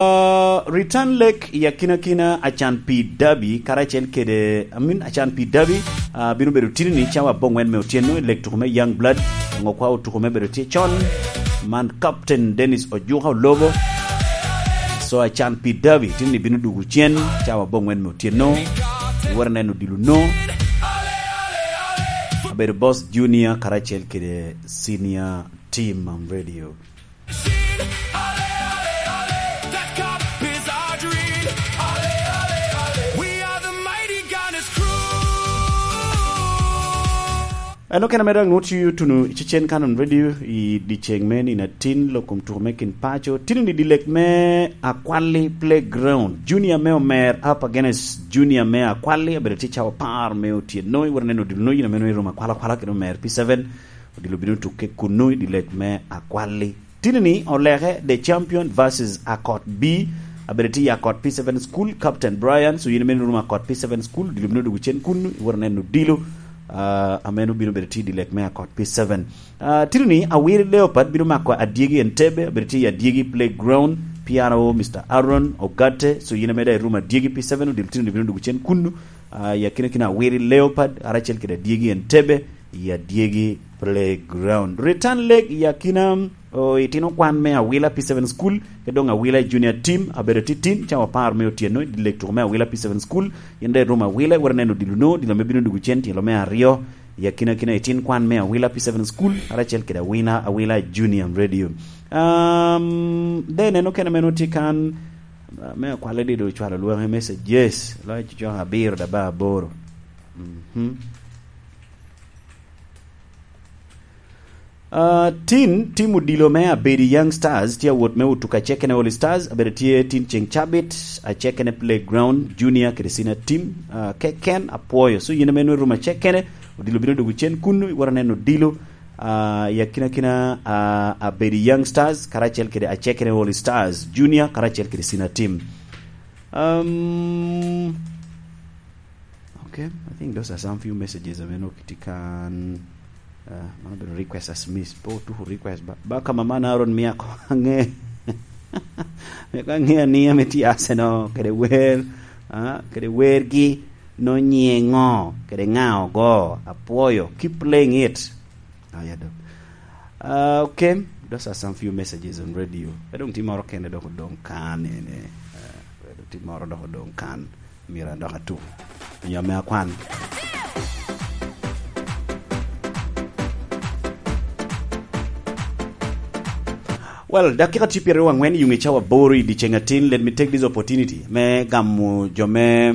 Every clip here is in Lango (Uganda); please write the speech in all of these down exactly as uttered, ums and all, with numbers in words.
Uh, return leg i akinakina Acan P Derby karacel kede, I mean, Acan P Derby, uh, bino bedo tini ni cawa abongwen me otyeno i leg tuko me Young Blood. Ngo kwa otuko me bedo tye con, man Captain Dennis Ojuka Olobo. So Acan P Derby tini ni bino dugu cen cawa abongwen me otyeno. Iwere neno dilo no. Abedo Boss Junior karacel kede Senior Team on Radio. Eno kena me dok nwoto tuno i Cecen Canon Radio i dyeceng me nino atin, lok kom tuko me kin paco. Tino ni dilek me Akwali Playground. Junior me Omer up against Junior me Akwali, abedo tye cawa apar me otyeno. Iwere neno dilo no, yin ameno i room akwala kwala kede Omer P seven. Odilo bino tukke kunnu i dilek me Akwali. Tini ni oleke The Champion versus Akot B. Abedo tye i Akot P seven School, Captain Brian. So yin ameno room Akot P seven School, dilo bino dugu cen kunnu, iworo neno dilo. Uh, ameno bino bedo tye i dilek me Akot P seven. Uh, tini ni Awiri Leopard bino mako Adyegi Entebbe, abedo tye i Adyegi Playground, P R O Mister Aaron Ogate. So yin ameda i room Adyegi P seven, odilo tini ni bino dugu cen kunnu. Uh, i akina kina Awiri Leopard, aracel kede Adyegi Entebbe, i Adyegi Playground. Return leg i akina, o, itino kwan me Awila P seven School, ke dong Awila Junior Team, abedo titin, cawa apar me otyeno, i leg tuko me Awila P seven School, yin de rum Awila, iwere neno dilo no, dilo me bino dugu cen, tyelo me aryo, i akina kina itin kwan me Awila P seven School, aracel kede Awila, Awila Junior Radio. Um, de neno kena meno tye kan, uh, me akwale dido ocwalo lwenge message, yes, loyo cocok abiro da ba aboro. Mhm. Uh, tin, tim odilo me Abedi Young Stars, tye awot me Otuka Chekene All Stars, abedo tye tin ceng cabit, Achekene Playground, Junior kede Senior Team, uh, keken apwoyo. So, yin ame nwe rum Achekene, odilo bino dugu cen kunnu, iwara neno odilo, uh, i akina kina, uh, Abedi Young Stars, karacel kede Achekene All Stars, Junior, karacel kede Senior Team. Um, Okay, I think those are some few messages ame nok tye kan, uh, man obedo request as miss. Po tuku request ba, ba ka mama na Aaron mia ko ange. Mia ko ange ni ame tye Arsenal, kede wer, ah, kede wer gi, no nyiengo, kede nga ogo, apwoyo, keep playing it. Aya do. Ah, okay, those are some few messages on radio. Pe dong tye moro kene dok odong kan ene. Ah, pe dong tye moro dok odong kan. Myero adok atu. Onyo ame akwan. Well, dakika tye pyeraryo angwen i ŋe cawa aboro i dyeceng atin. Let me take this opportunity me gamo jo me,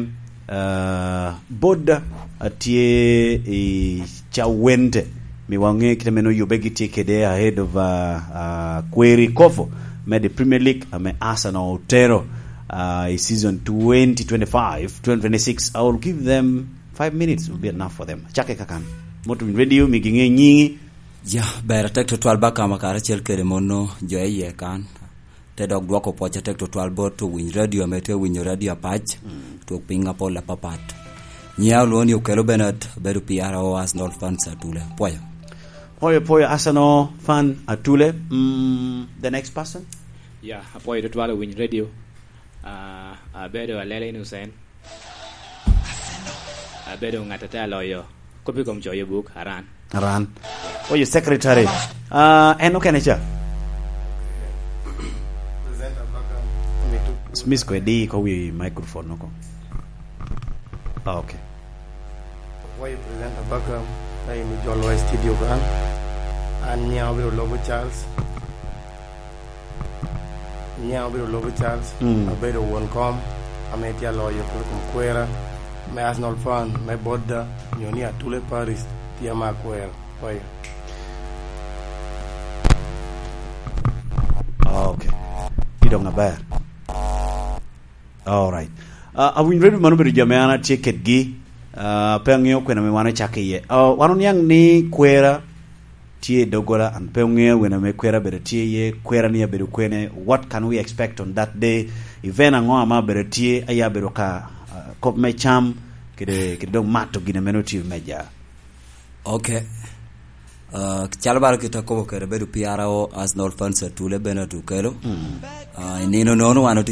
uh, boda atye i Cawende. Mi waŋe kite meno yube gitye kede ahead of, uh, uh, Kweri Kofu me the Premier League ame Arsenal otero, uh, i season twenty twenty-five, twenty twenty-six. I will give them five minutes, will be enough for them. Chake kakan. Moto Winy Radio, mi giŋe nyiŋi. Ya, ber atek tutwal ba kama karacel kede mono jo iye kan. Te dok dwoko pwoc atek tutwal bot owiny radio ame tye owinyo radio apac, mm, twok piny apol apapat. Nyiya olwoŋo ni Okelo Bernard, abedo P R O Arsenal fans Atule. Pwoyo. Pwoyo, pwoyo Arsenal fan Atule. Mm, the next person? Ya, apwoyo tutwal owiny radio. Ah, abedo Alele Innocent. Abedo ŋat ate aloyo kop i kom coyo buk, Aran. Aran. Oh, your secretary. Ah, en okene ca? Smith ko edi ko wi microphone oko. Ah, okay. Apwoyo presenter Baka, ka in ijolo i studio kan. An nyiŋa obedo Lobo Charles. Nyiŋa obedo Lobo Charles, mm, abedo won kom, ame tye aloyo kulu kom kwera, me Arsenal fan, me Boda, nyo ni Atule Paris, tye ama akwero. Oyo. Ah, okay. Ti dong aber. All right. Ah, awinyo redio man obedo jo ame an atye kedgi. Ah, pe aŋeo kwena ame wan ocakke iye. Ah, wan oniaŋ ni kwera tye i doggola, an pe oŋeo wene ame kwera bedo tye iye, kwera ni abedo kwene, what can we expect on that day? Event aŋo ame abedo tye, aye abedo ka, ah, kop me cam, kede, kede dong mato gin ame nongo tye i meja? Okay. Ah, calo bala kit akobo kede bedo P R O, Arsenal fans atule Bernard Okello. Ah, i nino nono wan otye